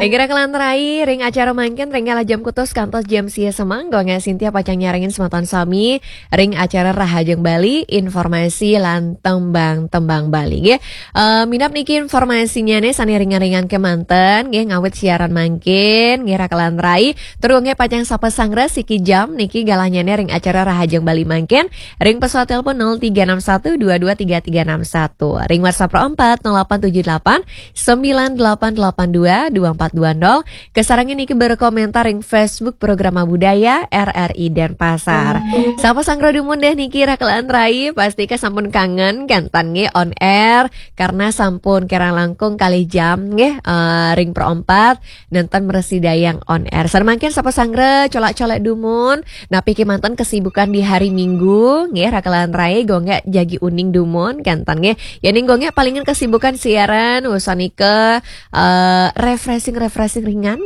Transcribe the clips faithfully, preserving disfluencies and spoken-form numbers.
Inggih raka lan rai, ring acara mangkin ring galah jam kutus kantos jam sia semeng, Gung Sintia pacang nyarengin semeton sami ring acara Rahajeng Bali, informasi lan tembang-tembang Bali. Nggih, eh, minab niki informasinyane sane ringan-ringan kemanten, nggih, ngawit siaran mangkin, nggih raka lan rai. Tur nggih pacang sapa sanggra siki jam niki galahnyane ring acara Rahajeng Bali mangkin, ring pesawat telepon nol tiga enam satu dua dua tiga tiga enam satu. Ring WhatsApp empat nol delapan tujuh delapan sembilan delapan delapan dua dua empat dua nol. Kasarengin niki berkomentar ring Facebook Programa Budaya R R I Denpasar. Sapa sanggra dumun deh niki raka lan rai, pastika sampun kangen kanten nggih on air karena sampun kirang langkung kalih jam nggih, eh, ring perempat nenten mresidayang on air. Sane mangkin sapa sanggra colak-colak dumun, napi kemanten kesibukan di hari Minggu nggih raka lan rai, Gung jagi uning dumun kanten nggih. Yening Gung palingan kesibukan siaran, usan nika, eh, refreshing-refreshing ringan.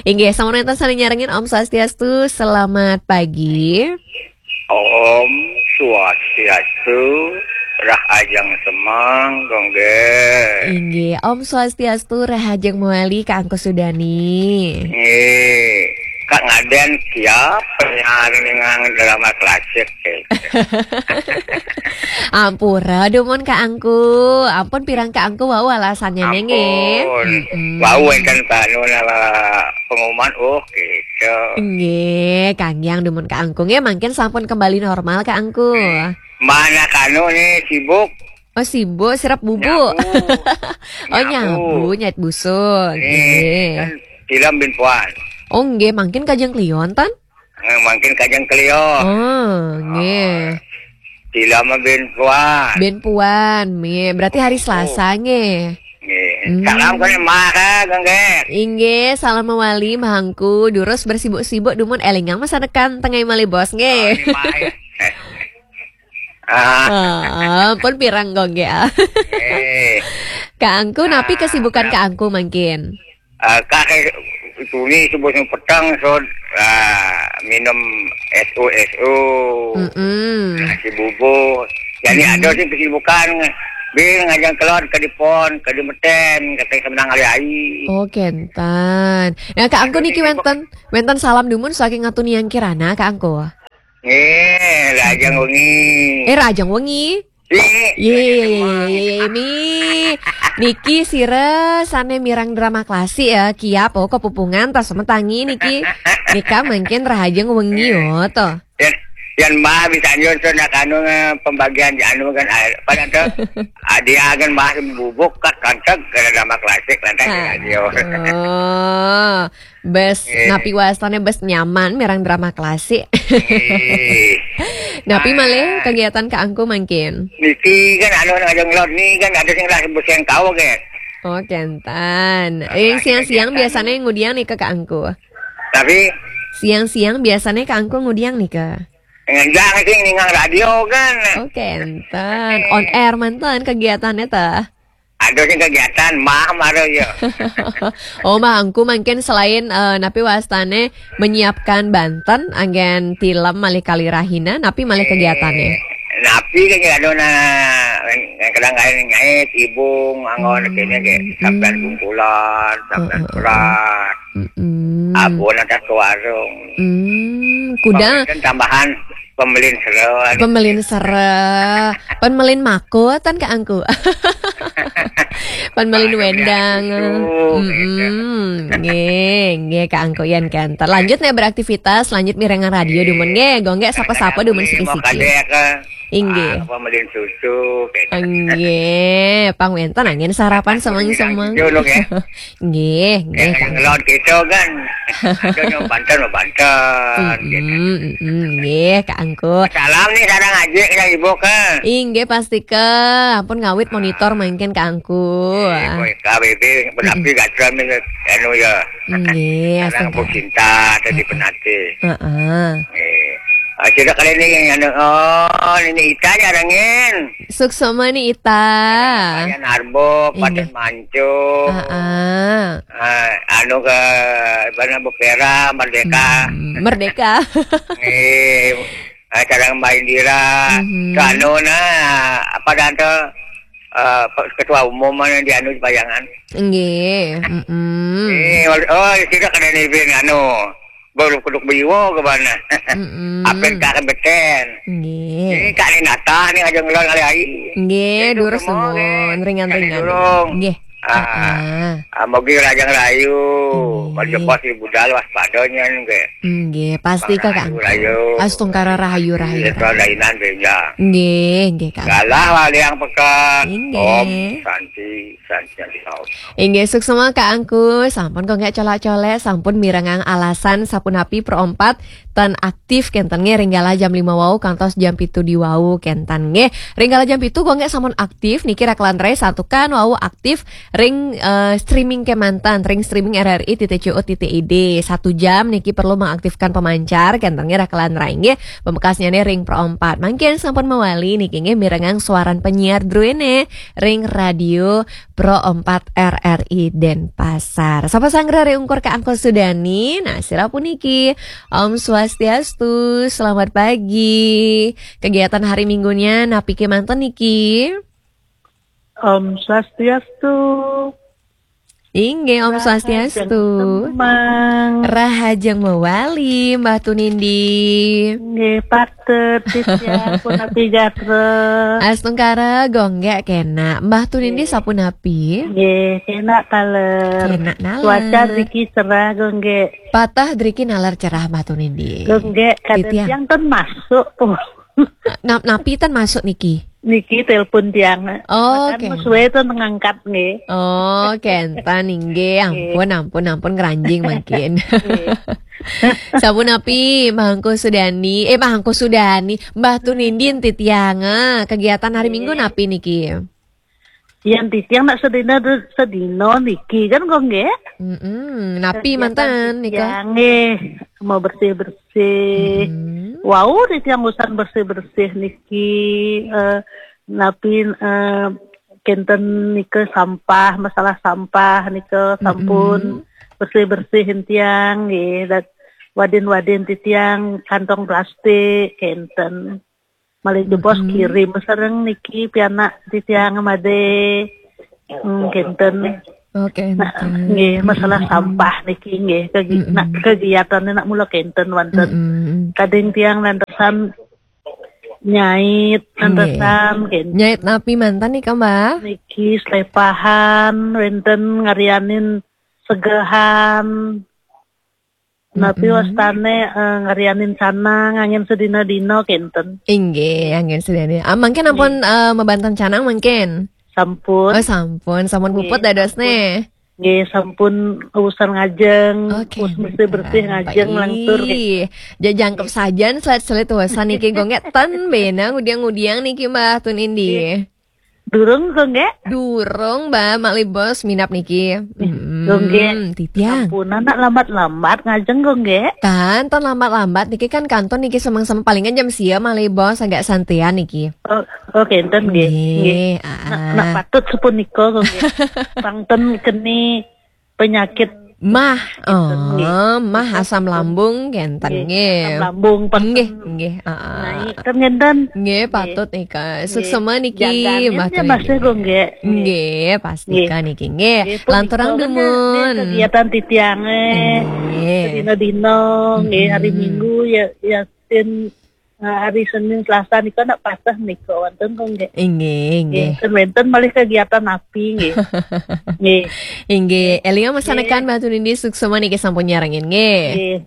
Inggih, sampun wenten sane nyarengin, Om Swastiastu, selamat pagi. Om Swastiastu, Rahajeng Semeng, Gung. Inggih, Om Swastiastu, Rahajeng Mawali, Kak Angku Sudani. Nggih, Kak Ngaden siap penyanyi ngang drama klasik, eh. Ampura, dumun Kak Angku. Ampun pirang Kak Angku wau alasannya nggih. Ampun. Mm-mm. Wau enten panu nama pengumuman, oh, gitu. Nggih, kangyang dumun Kak Angku. Nggih, mangkin sampun kembali normal Kak Angku. Mana kanu nih sibuk? Oh, sibuk, sirep bubuk. Nyabu. Oh, nyabu, nyait busuk. Nggih. Nggih. Kan film bin puan. Oh, nggih, mangkin kajeng klion, tan? Eh, mangkin kajeng klion. Oh, nggih. Film bin puan. Bin puan, nggih. Berarti hari Selasa, nggih. Nggih. Hmm. Salam kene Mah, Gung. Inggih, salam mawali, Mah Angku. Durus bersibuk-sibuk, dumun elingang masa depan, tengah malih bos, nggih. Oh, ini Mah, ya. Ah. Ah, pun pirang Gung, nggih. Eh. Kak Angku, napi kesibukan Kak Angku mangkin? Ah, Kak, eh, tuni subuh sing peteng, so, ah, minum S U S U. Mm-mm. Nasi bubur. Jadi ada sih kesibukan. Bil ngajang keluar ke dipon, ke dimeten, kata senang hari-hari. Oh, kenten. Nah, Kak Angku niki wenten, wenten salam dumun saking Atuniang Kirana, Kak Angku. Nggih, Rahajeng wengi. Eh, Rahajeng wengi. Nggih, Rahajeng wengi. Ye, mi. Niki sira sane mireng drama klasik ya, kiap, oh, kepupungan, tas semetangi niki. Nika mangkin Rahajeng wengi, oh, to. Yan, yan Mah bisa nyusun nak anu, eh, pembagian anu kan, ah, apa nanti? Ah, dia kan Mah bubuk kat kanteg ke drama klasik lantas radio. Oh. Bes, napi wastane bes nyaman mireng drama klasik. Nggih. Napi malih kegiatan Kak Angku mangkin? Niki kan anu ngajeng lot ni kan ada sing lah bes yang kau ke. Oh, kenten. Yang siang-siang biasanya ngudiang nika Kak Angku? Tapi siang-siang biasanya Kak Angku ngudiang nika? Ngenjang sing ningang radio kan. Oh, kenten. On air manten kegiatannya tah? Ada sing kegiatan, Mah, mara ya. Oh, Mah Angku mangkin selain, eh, napi wastane menyiapkan banten, anggen tilem malih kalirahina, napi malih kegiatane? Eh, napi kan ya, ada na, kadang-kadang nyait, ibung, anggon, kene ke, sampean bungkulan, sampean beras. Mm-mm. Abon atas ke warung. Hmm, kuda. Pemelihan tambahan, pemelin sera. Pemelin sera. Pemelin mako, tan Kak Angku. Pemelin wendang. Susu, gitu. Mm-mm. Nggih, nggih Kak Angku yan kenten. Lanjut nih beraktivitas, lanjut mirengan radio dumun nggih. Gung sapa-sapa dumun siki-siki. Kadek, eh. Inggih. Ah, apa melin susu, kayak gitu. Inggih, pang wenten angin sarapan semeng-semeng. Jono, ya. Nggih, nggih, Kang. Ngelon gitu kan. Ada yang banten, banten, gitu. Mm-mm, mm-mm, nggih, Kak Angku. Salam nih, sareng aja ke ibu ke. Inggih, pasti ke. Ampun ngawit monitor mangkin Kak Angku. Eh, kowe K B B, benapi gatra nih, anu ya. Nggih, sareng astaga. Bu Cinta, tadi penate. Heeh. Eh, ah, sudah kali ini yang anu, oh, ini Ita nyarengin. Suksma ni Ita. Kalian Arbo, Padan Manco. Heeh. Ah, anu ke, mana Bukera, Merdeka. Hmm, Merdeka. Eh, ah, sareng Mbak Indira. Mhm. Ke anu nah, apa dah tu? eh, pe-, ketua umum mana di anu di Payangan. Nggih, mm-mm. Eh, wal-, oh, tidak ada ni bin anu. Baru kuduk biwo ke mana? Mm-mm. Apit ka kebeten. Nggih. Ini Kak Ninata ni aja ngelon kali ai. Nggih, jadi durus semua, nggih. Nuwun, ringan-ringan. Kali durung. Nggih. Ah, ah, mogi rajang rayu. Nggih. Baju bos di budal waspadanya nggih. Nggih, pasti, Kakak. Rahayu, rahayu. Astungkara rahayu, rahayu, rahayu. Dainan benja. Nggih, nggih, Kak. Galah wali yang pekat. Nggih. Om Santi, Santi, Santi, Om. Inggih, suksma Kak Angku, sampun kok nggak colak-colek, sampun mirengang alasan sapunapi Pro Empat ten aktif kenten nggih ring galah jam lima wau kantos jam pitu di wau kenten nggih. Ring galah jam pitu kok nggak sampun aktif niki rakelan rai santukan wau aktif ring, eh, streaming kemanten, ring streaming R R I titik C O titik I D. Satu jam niki perlu mengaktifkan pemancar kenten nggih rakelan rai nggih. Pamekasnya nih ring Pro Empat. Mangkin sampun mawali niki nggih mirengang suaran penyiar druene ring radio Pro Empat R R I Denpasar. Sapa sanggra ri ungkur Kak Angkul Sudani? Nah, sira puniki. Om Swastiastu, selamat pagi. Kegiatan hari Minggunya napi kemanten niki? Om Swastiastu. Inggih, Om Swastiastu. Rahajeng semeng. Rahajeng mawali, Mbah Tunindi. Nggih, patut, titiang punapi gatra. Astungkara, gonggek kena. Mbah Tunindi sapunapi? Nggih, kena taler. Kena naler. Cuaca driki cerah, gonggek. Patah driki naler cerah, Mbah Tunindi. Gonggek, kadang titiang tiang ten masuk, puh. Na-, napi ten masuk niki? Niki telepon tiang. Oh, bahkan oke. Suwe ten ngangkat, nggih. Oh, kenten, inggih. Nggih. Ampun, ampun, ampun, ngeranjing mangkin. Nggih. Sapunapi, Mbah Angku Sudani, eh, Mbah Angku Sudani, Mbah Tunindin titiang, ah, kegiatan hari Minggu napi niki? Yang titiang nak sedina, sedina niki kan, kok nggih? Mm-mm. Napi kegiatan manten nika? Titiang, nggih, mau bersih-bersih. Mm-mm. Wau, titiang usan bersih-bersih niki, eh, napi, eh, kenten nika sampah, masalah sampah nika sampun bersih-bersih tiang nggih, dan wadin-wadin titiang kantong plastik kenten. Malih jebos kirim sareng niki pianak titiang made. Hmm, kenten. Oh, kenten. Nah, nggih, masalah sampah niki nggih, kegi-, nak kegiatannya nak mula kenten wonten. Mm-mm. Kadang tiang nantesan nyait, nggih, nantesan, kenten. Nyait napi manten nika, Mbah? Niki slepahan, wenten ngarianin segehan. Napi wastane, eh, ngarianin canang, angin sedina-dina, kenten. Inggih, angin sedina. Ah, mangkin ampun, eh, mabanten canang mangkin? Sampun. Oh, sampun, sampun puput dados ne. Nggih, sampun urusan ngajeng, oke, terus bersih-bersih ngajeng, baik. Langtur, nggih. Jajangkep sajan selit-selit urusan niki, gonggek ten bena ngudiang-ngudiang niki, Mbah Tunindi. Nggih. Durung, gonggek? Durung, Mbah, malih bos minap niki. Mm-mm, gonggek. Titiang. Sampun, nak lambat-lambat ngajeng, gonggek? Tan, tan lambat-lambat niki kan kantun niki semeng-semeng palingan jam sia malih bos agak santian niki. Oh, oh, kenten, nggih. Nggih, nggih. Ah, nak, ah. Nak patut sapunika, gonggek. Pang ten keni penyakit. Mah, oh, nggih. Mah asam lambung kenten, nggih, nggih. Asam lambung, nggih, nggih, heeh. Naik, kan ngenten. Nggih, nggih, patut nika. Nggih. Suksema niki, jaganin Mbah ya, Tri. Masih kok, nggih. Nggih, pasti nggih. Kan niki, nggih. Nggih, punika lanturang kan dumun. Nggih, kegiatan titiange. Nggih. Sedina-dina, nggih, hari Minggu ya, ya, ten, eh, hari Senin, Selasa nika nak pasah nika wonten kok, nggih. Inggih, inggih. Nggih, ten wenten malih kegiatan api, nggih. Nggih. Inggih, elinga masanekan Mbah Tunindi suksema niki sampun nyarengin, nggih. Nggih.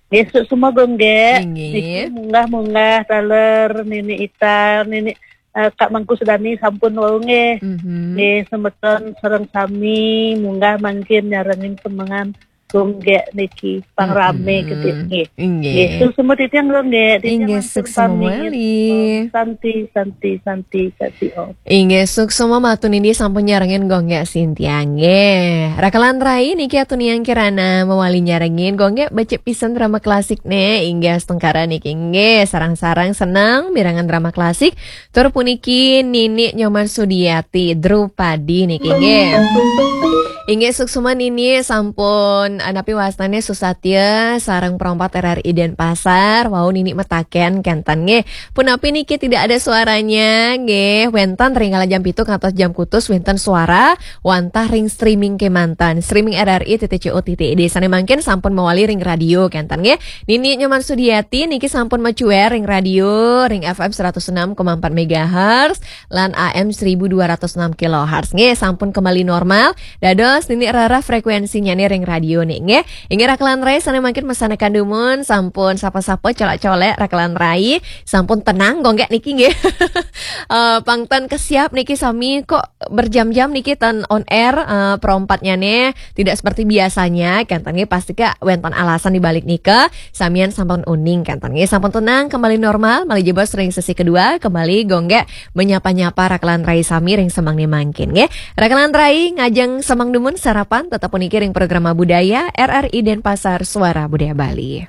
Nggih, suksema, nggih. Inggih. Niki munggah-munggah taler Nini Itar, Nini, eh, Kak Mangku Sudani sampun wau, nggih. Mhm. Nggih, semeton sareng sami munggah mangkin nyarengin semengan. Gonggek niki, pang rame, mm-mm, gedhe nggih. Inggih. Nggih, suksema titiang, gonggek. Titiang inggih, langsung suksema pamit. Malih. Om Santi, Santi, Santi, Santi, Om. Inggih, suksema Mbah Tunindi sampun nyarengin gonggek Sintia nggih. Rakelan rai niki atunian kirana mawali nyarengin gonggek becik pisan drama klasik ne. Inggih, astungkara niki nggih, sarang-sarang seneng mirengang drama klasik. Tur puniki Nini Nyoman Sudiati, Drupadi niki nggih. Inggih, suksma niki sampun, eh, napi wastane Susatya sareng Perompat R R I Denpasar. Wau niki mataken kenten nggih. Punapi niki tidak ada suaranya nggih. Wenten ring kala jam pitu ngantos jam kutus wenten suara wantah ring streaming kemanten. Streaming R R I titik C O titik I D. Sane mangkin sampun mawali ring radio kenten nggih. Nini Nyoman Sudiati niki sampun macuer ring radio ring F M seratus enam koma empat megahertz lan A M seribu dua ratus enam kilohertz. Nggih, sampun kembali normal. Dados nini rarah frekuensinyane ring radio niki nggih. Inggih rakelan rai sane mangkin masanekan dumun sampun sapa-sapa colek-colek rakelan rai sampun tenang gonggek niki nggih. Eh, pang ten kesiap niki sami kok berjam-jam niki ten on air, eh, perompatnyane tidak seperti biasanya kenten nggih, pasti ka wenten alasan di balik nika. Samian sampun uning kenten nggih, sampun tenang kembali normal, malih jebos ring sesi kedua kembali gonggek menyapa-nyapa rakelan rai sami ring semang ni mangkin nggih. Rakelan rai ngajeng semang dumun sarapan tetep puniki ring programa budaya R R I Denpasar Suara Budaya Bali.